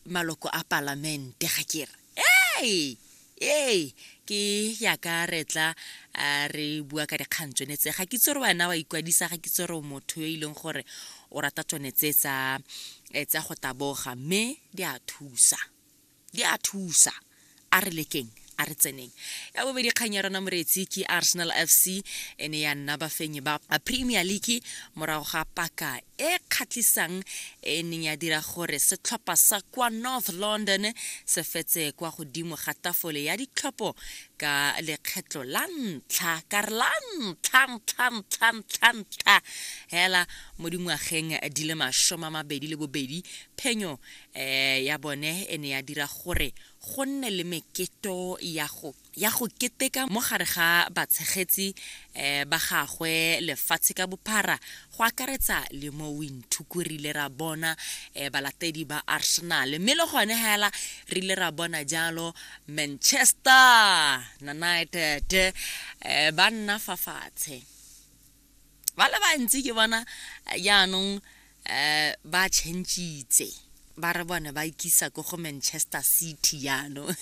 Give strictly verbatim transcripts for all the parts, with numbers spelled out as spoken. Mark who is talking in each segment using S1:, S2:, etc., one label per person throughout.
S1: Maloko a palamente ga ke re ee ee ke yaka re tla re bua ka dikgang tsone tse. Ga ke itse gore wena wa ikwadisa, ga ke itse gore motho yo e leng gore o rata tsone tse tsa tsa go taboga, mme di a thusa, di a thusa. A re lekeng, a re tseneng. Ya bobedi kgang ya rona, moreetsi, ke Arsenal F C e ne ya nna bafenyi ba Premier League morago ga paka e kgatlhisang e neng ya dira gore setlhopha sa kwa North London se fetse kwa godimo ga tafole ya ditlhopho ka lekgetlo la ntlha, ka re la ntlha ntlha ntlha ntlha ntlha hela mo dingwageng di le masome a mabedi le bobedi. Phenyo um ya bone e ne ya dira gore go nne le meketo ya go ya go keteka mo gare ga batshegetsi um ba gagwe lefatshe ka bophara, go akaretsa le mo Windhoek. Re ile ra bona um balatedi ba Arsenal, mme le gone hela re ile ra bona jalo Manchester United um ba nna fa fatshe ba le bantsi. Ke bona jaanong um ba changitse, ba re bone ba ikisa ko go Manchester City jaanong.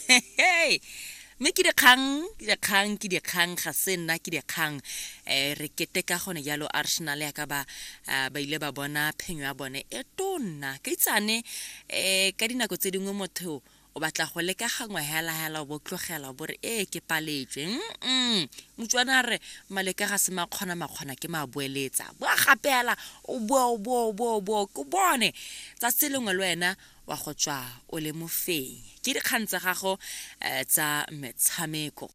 S1: Mme ke dikgang, ke dikgang, ke dikgang, ga se nna, ke dikgang. um re keteka gone jalo Arsenal yaka ba ba ile ba bona phenyo ya bone e tonna ka itsane. um ka dinako tse dingwe motho o batla go leka gangwe hela hela, o bo tlogela, o bo re ee, ke paletswe. Mm motswana a re maleka ga se makgona, makgona ke maboeletsa. Boa gape hela, o boa, o boa, o boa, o boa, ko bone tsatsi lengwe le wena wa go tswa o le mofenyi. Ke dikgang tsa gago um tsa metshameko.